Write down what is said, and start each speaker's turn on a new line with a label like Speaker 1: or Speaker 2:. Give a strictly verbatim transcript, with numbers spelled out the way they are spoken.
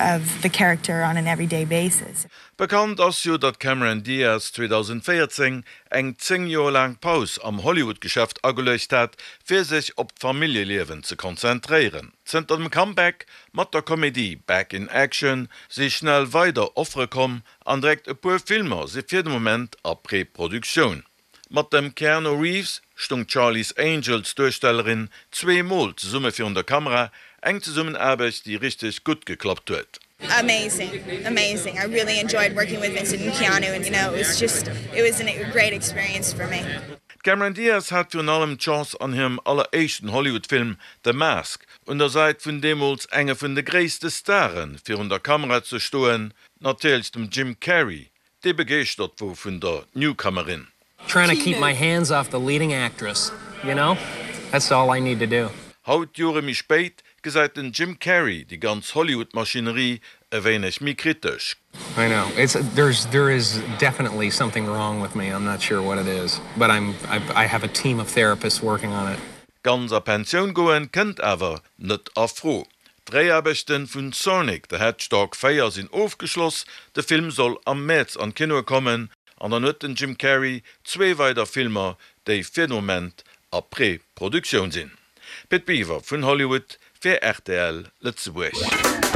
Speaker 1: of the character on an everyday basis.
Speaker 2: Bekannt ass jo, datt d'Cameron Diaz zweedausendvéierzéng eng zéng Joer laang Paus am Hollywood-Geschäft ageluecht hat, fir sech op d'Familljeliewen ze konzentréieren. Zënter dem Comeback mat der Komedie Back in Action si schnell weider Offere komm an direkt e puer Filmer si fir de Moment a Preproduktioun. Mat dem Keanu Reeves stoung d'Charlie's Angels Duerstellerin zwee Mol zesumme virun der Kamera, eng Zesummenaarbecht déi richteg gutt geklappt huet.
Speaker 1: Amazing, amazing. I really enjoyed working with Vincent and Keanu and you know it was just it was a great experience for me.
Speaker 2: D'Cameron Diaz hat virun allem d'Chance an hirem alleréischten Hollywood-Film The Mask un der Säit vun deemools enge vun de gréisste Stare virun der Kamera ze stoen, natierlech dem Jim Carrey, dee begeeschtert wor vun der Newcomerin.
Speaker 3: Trying to keep my hands off the leading actress, you know? That's all I need to do.
Speaker 2: Haut, Jore méi spéit, gesäit den Jim Carrey déi ganz Hollywood-Maschinerie e wéineg méi kritesch.
Speaker 3: I know. It's there's there is definitely something wrong with me. I'm not sure what it is, but I'm I have a team of therapists working on it.
Speaker 2: Ganz a Pensioun goen kënnt awer net a Fro. D'Dréiaarbechte vun Sonic the Hedgehog véier sinn ofgeschloss, de Film soll am Mäerz an d'Kinoe kommen an dann huet den Jim Carrey zwee weider Filmer, déi fir de Moment a Preproduktioun sinn. Pit Biwer vun Hollywood fir rtl Lëtzebuerg.